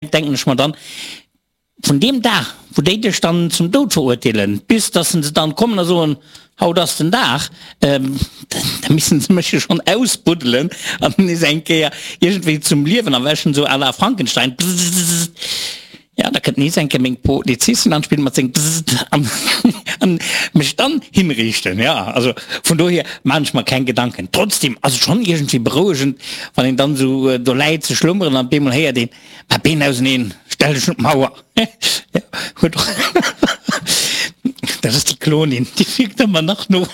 Denken ech mer dann, vun deem Dag, wou déi dech dann zum Doud verurteelen, bis dass se dann kommen a soen, haut ass den Dag, da missen se mech jo schonn ausbuddelen an nees eng Kéier iergendwéi zum Liewen erwächen, esou à la Frankenstein, bzzzt. Jo, da kënnt nees eng Kéier meng Polizistin an d'Spill mat sengem bzzzt an mech dann hinriichten. Jo, also vun dohier maan ech mer keng Gedanken. Trotzdem ass et schonn iergendwéi berouegend, wann een dann esou do läit ze schlummeren an op eemol héiert een, Mä Been auseneen, stell dech un d'Mauer. Huet och, dat ass déi Klonin, déi wierkt ëmmer nach no.